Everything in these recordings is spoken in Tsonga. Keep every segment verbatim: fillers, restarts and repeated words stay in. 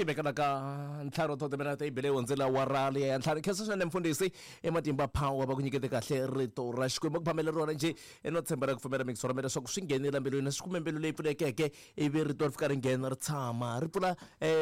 Swi vekela ka ntlhanu to timinete yi bile hundzela wa rali ya ntlhanu. Khensa swinene mfundhisi ematimba power va ku nyikete kahle rito ra Xikwembu ku phamele rona njhe no tshemba ra ku pfumela mixo ra mina leswaku swi nghenile mbilwini swi kume mbilu leyi pfulekeke ivi rito ri fika ri nghena ri tshama ri pfula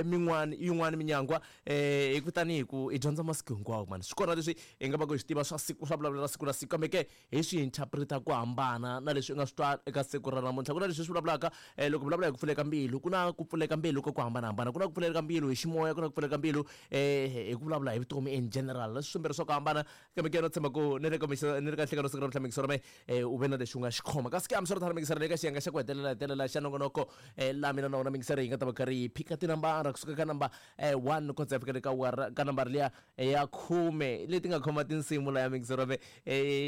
min'wani yin'wani minyangwa hi ku tanihi ku i dyondza masiku hinkwawo mani swi kona leswi hi nga va ku hi swi tiva swa siku swa vulavula siku na siku kambe ke hi swi interpreta ku hambana na leswi u nga swi twa eka siku ra namuntlha. Ku na leswi swi vulavulaka loko vulavula hi ku pfuleka mbilu ku na ku pfuleka mbilu ka ku hambanahambana, ku na ku pfuleka mbilu hi ximoya, ku na ku pfuleka mbilu hi ku vulavula hi vutomi in general, leswi swimbirhi swa ku hambana kambe ke no tshemba ku ni le ka ni le ka nhlekano siku ra namuntlha mixo ra me u ve na lexi u nga xi khoma. Kasi ke hambiswiritano mixo ra ka xiyenge xa ku hetelela hetelela xa nongonoko laha mina na wona mixo yi nga ta va karhi yi phika tinambara kusuka ka namba one ku kondza fika ka ka nambara liya ya khume leti nga khoma tinsimu la ya mixo ra me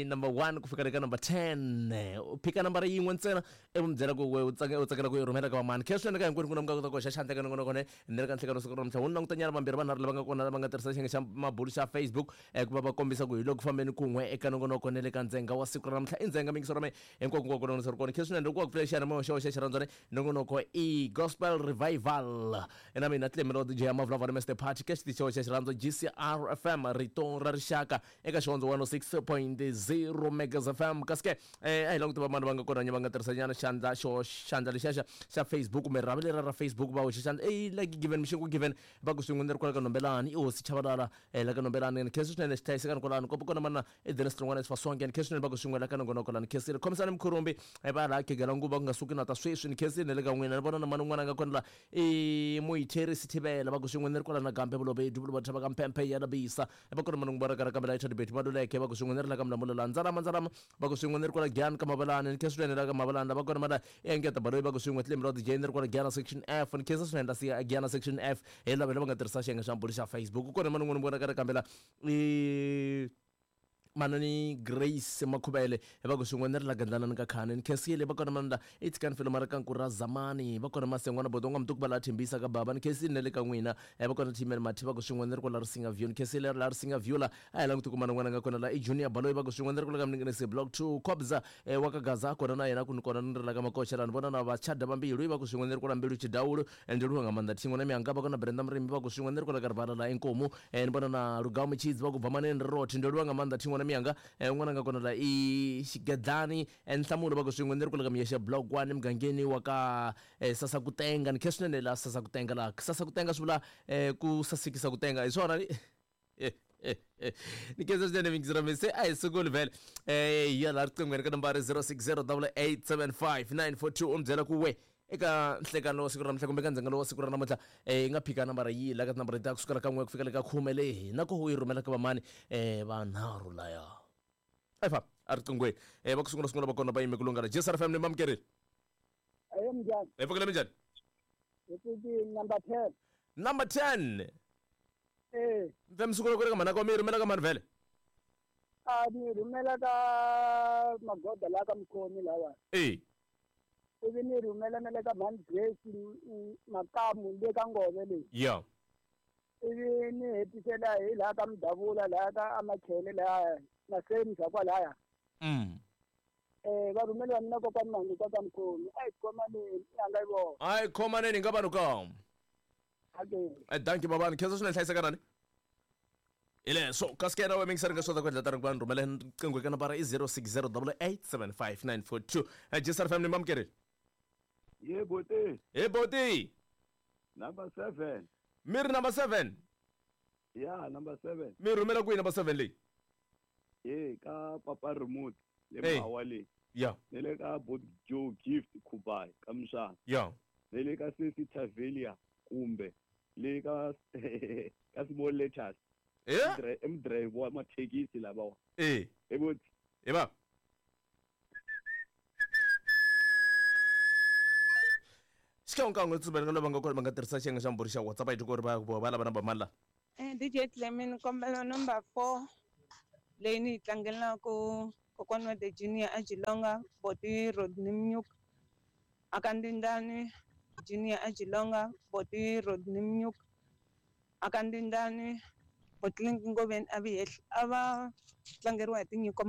number one ku fika le ka number ten. U phika nambara yin'we ntsena ivi mi byela ku we u tsakela ku yi rhumela ka vamani. Khensa swinene ka hinkwenu ku na mi nga kota ku hoxa xandla ka nongonoko ne ni le ka nhlekano siku ra namuntlha. Wu ni langutanyana vambirhi vanharhu lava nga kona lava nga tirhisa xiyenge xa mabulu xa Facebook ku va va kombisa ku hi loko fambeni kun'we eka nongonoko ne le ka ndzenga wa siku ra namuntlha. I ndzenga mingiso ra me hinkwako hinkwako nongonoko ri kona. Khensa swinene loko wa ku pfula xiyanimoya xa xa xirhandzwane nongonoko i Gospel Revival na mina Tlemelo D J ya Mavulavula Mister Party ka xitichi xa xirhandzo G C R F M rito ra rixaka eka xihondzo one oh six point zero Megas F M. Kasi ke a hi languti vamani va nga kona va nga tirhisa nyana xandla xo xandla lexiya xa Facebook kumbe rhavi lera ra Facebook va hoxa xandla i like given mixingu given va ku swin'we ni ri kwala ka Nombelani i hosi Chavalala la ka Nombelani. Ni khensa swinene xi hlayisekani kwalano kopo kona mana i Dennis Tlongwana Sifasonke. Ni khensa swinene va ku swin'we la ka nongonoko la ni khensile khomisani Mkhurumbi va laha Khegela Nguva ku nga suki na ta sweswi ni khensile ne le ka n'wina. Ni vona na mani un'wana a nga kona la i Muitheri Sithibela va ku swin'we ni ri kwala na Gambe Vulobedu Vuloba Thaba ka Mpempe ya Labisa va kona mani un'wana ka kambe la Chadibet Maluleke va ku swin'we ni ri la ka Mlamula Ndzalama Ndzalama va ku swin'we ni ri kwala Giyani ka Mavalani. Ni khensa swinene la ka Mavalani lava kona mana engeta Baloyi va ku swin'we Tlemelo D J ni ri kwala Giyana section F. Ni khensa swinene la siya Giyana section F hi lava lava nga tirhisa xiyenge xa mbulu xa Facebook. Kona mani un'wana vona ka ri kambela i manani Grace Makhubele va ku swin'we ni ri la Gandlanani ka Khani. Ni khensile va kona mana i tshikani filo mara ka Nkura Zamani va kona Masengwana Bodonga Mtuku va la Thembisa ka baba. Ni khensile ne le ka n'wina va kona Timel Mathi va ku swin'we ni ri kwala Risinga View. Ni khensile la Risinga View la a hi languti ku mana n'wana nga kona la i Junior Baloyi va ku swin'we ni ri kwala ka Mninginisi Block two Kobza wa ka Gaza kona na yena ku ni kona ni ri la ka Makocha la ni vona na Vachada va Mbilu va ku swin'we ni ri kwala Mbilu Chidawulu ndi luwa nga maanḓa Thingo na Mianga va kona Brenda Murimi va ku swin'we ni ri kwala ka Rivala la Inkomu. Ni vona na Lugao Michidzi va ku bva manene Roti ndi luwa nga maanḓa Thingo na Mianga un'wana nga kona la i Xigedlani Nhlamulo va ku swin'we ni ri kwala ka Miyexe Block one mugangeni wa ka Sasakutenga. Ni khensa swinene la Sasakutenga la Sasakutenga swi vula ku sasekisa ku tenga hi swona ni ni khensa swinene mingizira mi se a hi sunguli vhele hi ya laha riqinghweni ka nambara zero six zero double eight seven five nine four two u mi byela ku we eka nhlekano wa siku ra namuntlha kumbe ka ndzhengelo wa siku ra namuntlha hi nga phika nambara yihi la ka tinambara leti ta kusukela ka n'we ku fika le ka khume leyi na ku u yi rhumela ka vamani vanharhu laya efa a riqinghweni va ku sungula sungula va kona va yime ku lungana. G C R F M ni mamukerile ayo minjhani hi pfukile minjhani hi pfukile number ten number ten eh mfe mi sungula ku ri ka mhana ka mi yi rhumela ka mani vhele a ni rhumela ka Magoda laha ka Mukhomi lawa eh ivi ni rhumela na le ka mhani Grace Makamu le ka Ngove leyi ya ivi ni hetisela hi laha ka Mudavula laha ka Amakhele laha na Semisa kwalaya mm eh va rhumela mina kokwani Mangi ka ka Mukhomi a hi khomaneni i nga yi vona a hi khomaneni nga vanhu ka okay danki babani khensa swinene hlayisekanani hi leswo kasi ke yena we mingiseri nga swi kota ku endla tani ku va ni rhumela riqingho eka nambara i zero six zero double eight seven five nine four two. G C R F M ni mamukerile Ye boti. Hey boti. Number seven. Mi ri number seven. Yeah, number seven. Mi rhumela kwihi number seven leyi? Eh ka Papa Remote le Mawa le. Yeah. Ne le ka Bot Joe Gift Kubai ka Mshana. Yeah. Ne le ka Sesi Tavelia kumbe le ka ka Small Letters. Eh? M drive wa mathekisi lava. Eh. Eh boti. Eh ba. Xikan'we tsumela lava nga kona va nga tirhisa xiyenge xa mbhuri xa WhatsApp a yi ku ri va va lava namba mani la eh D J Clement kombela number four leyi ni yi tlangelaku kokwana wa the Junior a Jilonga Boti Rodney Mnyuk akandindani Junior a Jilonga Boti Rodney Mnyuk akandindani Botlink Ngoveni a vi a va tlangeriwa hi tinyiko.